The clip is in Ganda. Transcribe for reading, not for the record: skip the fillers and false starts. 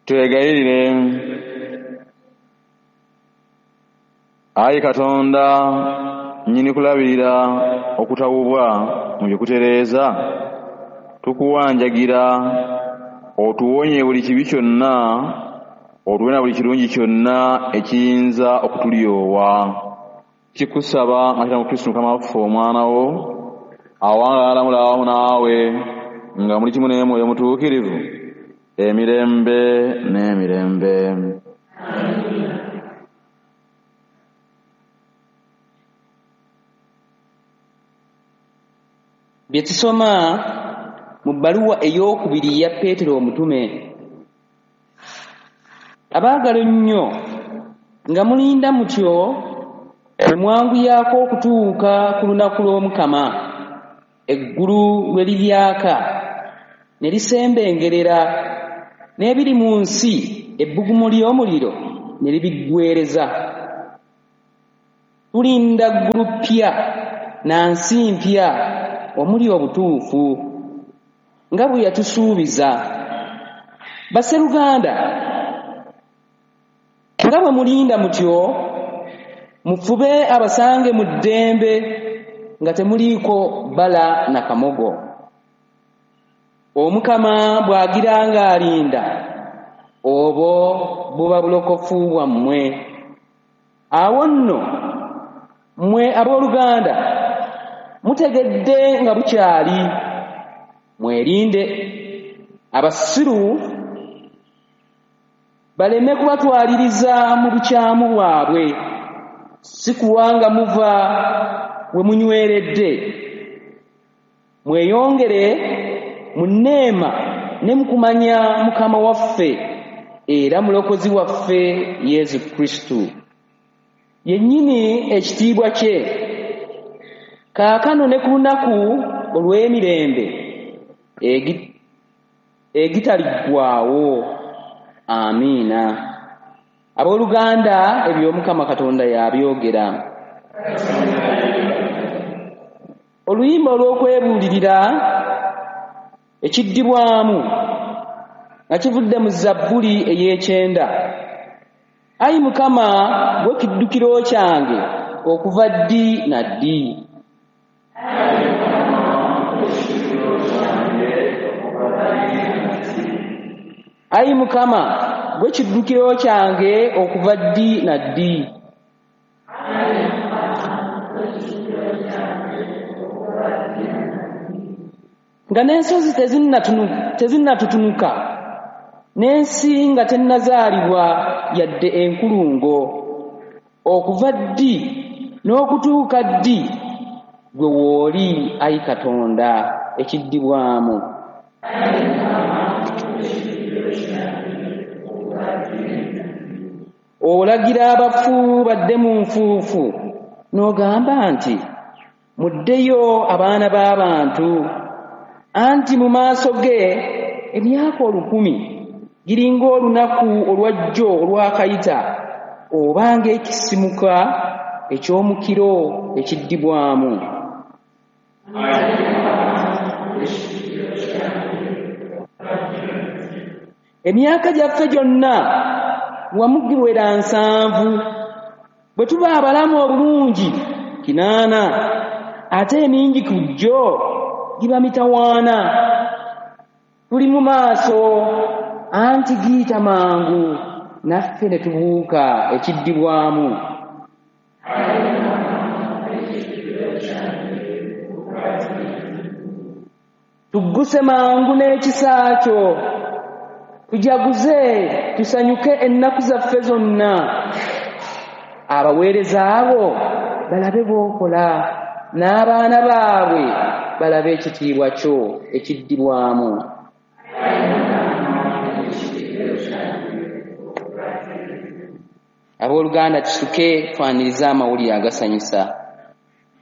Twegayirire. Ayi Katonda nnyini kulabirira okutawubwa mu bye kutereeza, tukuwanjagira otuwonye buli kibi kyonna, otuwe na buli kirungi kyonna ekiyinza okutulyowa. Kikusaba nga tuyita mu Kristo Mukama waffe Omwana wo, awangaala alamula awamu naawe nga muli kimu n'Omwoyo Mutuukirivu, emirembe n'emirembe. Bye tusoma mu bbaluwa eyookubiri eya Peetero omutume. Abaagala ennyo, nga mulinda mutyo ne mwanguyaako okutuuka ku lunaku lw'Omukama, eggulu lwe liryaka ne lisembengerera, n'ebiri mu nsi ebbugumu ly'omuliro ne libiggweereza. Tulinda ggulu ppya na nsi mpya omuli obutuufu, nga bwe yatusuubiza. Basseruganda, nga bwe mulinda mutyo, mufube abasange mu ddembe nga temuliiko bbala na kamogo. Omukama bw'agira ng'alinda, obwo buba bulokofu bwammwe. Awo nno mmwe abooluganda, mutegedde nga bukyali, mwerinde abasiru baleme kubatwaliriza mu bukyamu bwabwe, si kulwa nga muva we munyweredde. Mweyongere mu nneema ne mu kumanya Mukama waffe era Mulokozi waffe Yesu Kristo. Yennyini ekitiibwa kye, kaakano ne ku lunaku olw'emirembe egitaliggwaawo. Amiina. Abooluganda, eby'Omukama Katonda yabyogera. Oluyimba olw'okwebuulirira ekiddibwamu nga kivudde mu Zabbuli ey'ekyenda. Ayi Mukama, ggwe kiddukiro kyange okuva ddi na ddi. Ayi Mukama, ggwe kiddukiro kyange okuva ddi na ddi. Nga n'ensozi tezinnatutunuka, n'ensi nga tennazaalibwa yadde enkulungo, okuva ddi n'okutuuka ddi ggwe w'oli, ayi Katonda, ekiddibwamu. Olagira abafu badde mu nfuufu, n'ogamba nti, muddeyo abaana b'abantu, anti mu maaso ge emyaka 1000 giringa olunaku olwajjo olwakayita, oba ng'ekisimuka eky'omukiro ekiddibwamu. Emyaka gyaffe gyonna wamu giwera 70, bwe tuba abalamu obulungi 80, ate emingi ku gyo giba mitawaana. Tuli mu maaso, anti giyita mangu, naffe ne tubuuka ekiddibwamu. Tugguse mangu n'ekisa kyo, tujaguze tusanyuke ennaku zaffe zonna. Abaweereza abo balabe b'okola, n'abaana baabwe balabe ekitiibwa kyo ekiddibwamu. Abooluganda, tusituke twanirize amawulire agasanyusa.